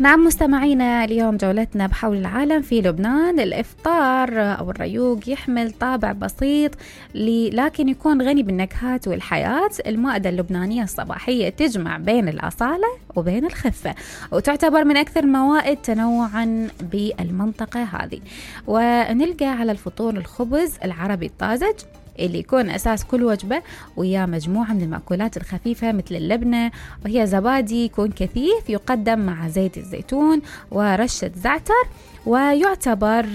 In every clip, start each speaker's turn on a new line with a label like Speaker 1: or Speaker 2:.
Speaker 1: نعم مستمعينا، اليوم جولتنا بحول العالم في لبنان. الإفطار أو الريوق يحمل طابع بسيط لكن يكون غني بالنكهات والحياة. المائدة اللبنانية الصباحية تجمع بين الأصالة وبين الخفة، وتعتبر من أكثر الموائد تنوعا بالمنطقة هذه. ونلقى على الفطور الخبز العربي الطازج اللي يكون أساس كل وجبة، ويا مجموعة من المأكولات الخفيفة مثل اللبنة، وهي زبادي يكون كثيف يقدم مع زيت الزيتون ورشة زعتر، ويعتبر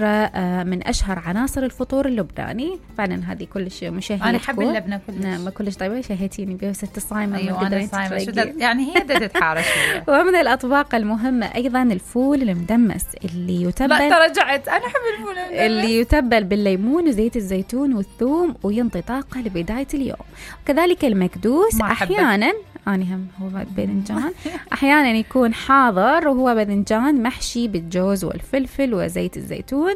Speaker 1: من أشهر عناصر الفطور اللبناني. فعلا هذه كلش مشهية.
Speaker 2: أنا أحب اللبنة كلش.
Speaker 1: نعم كلش طيبة، شهيتيني بها ست الصايمة.
Speaker 2: أيوة أنا صايمة، يعني هي بدها تتحارش.
Speaker 1: ومن الأطباق المهمة أيضا الفول المدمس اللي يتبل.
Speaker 2: لا ترجعت، أنا أحب الفول المدمس
Speaker 1: اللي يتبل بالليمون وزيت الزيتون والثوم وينطي طاقة لبداية اليوم. وكذلك المكدوس أحيانا هم هو باذنجان أحيانا يكون حاضر، وهو باذنجان محشي بالجوز والفلفل وزيت الزيتون،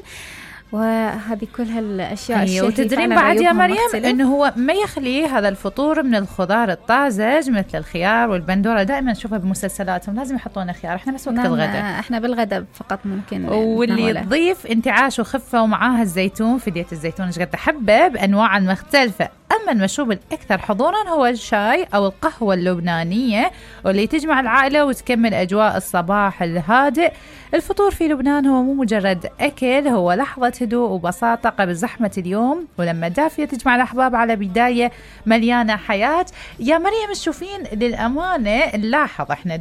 Speaker 1: وهذه كل هالاشياء الشهية.
Speaker 2: وتدرين بعد يا مريم انه هو ما يخلي هذا الفطور من الخضار الطازج مثل الخيار والبندوره. دائما نشوفها بمسلسلاتهم لازم يحطون خيار، احنا بس وقت الغداء،
Speaker 1: احنا بالغداء فقط ممكن.
Speaker 2: واللي تضيف انتعاش وخفه ومعاها الزيتون، فدية الزيتون ايش قد تحبه بانواع مختلفه. أما المشروب الأكثر حضوراً هو الشاي أو القهوة اللبنانية، واللي تجمع العائلة وتكمل أجواء الصباح الهادئ. الفطور في لبنان هو مو مجرد أكل، هو لحظة هدوء وبساطة قبل زحمة اليوم، ولما دافية تجمع الأحباب على بداية مليانة حياة. يا مريم تشوفين للأمانة نلاحظ إحنا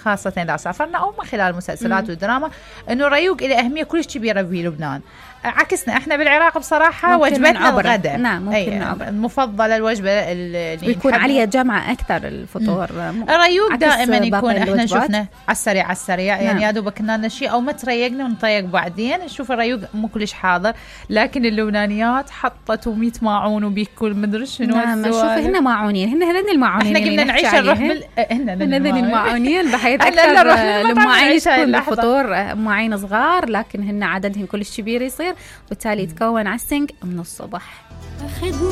Speaker 2: خاصة إذا سافرنا أو من خلال المسلسلات والدراما إنه الريوق له أهمية كلش كبيرة في لبنان. عكسنا احنا بالعراق بصراحة وجبتنا الغداء.
Speaker 1: نعم ممكن
Speaker 2: المفضلة الوجبة اللي
Speaker 1: يكون عليها جمع أكثر الفطور.
Speaker 2: الريوق دائما يكون احنا شفنا على السريع يعني يا دوبك كنا شيء او ما تريقنا ونطيق بعدين. نشوف الريوق مو كلش حاضر، لكن اللبنانيات حطت 100 ماعون وبيكل مدري شنو.
Speaker 1: نعم شوف هن ماعونين، هن الماعونين
Speaker 2: احنا قلنا نعيش الروح
Speaker 1: هن الماعونين بحيث أكثر الماعين تكون بالفطور ماعين صغار، لكن هن عددهم كلش كبير يصير، وبالتالي يتكون على السنك من الصبح.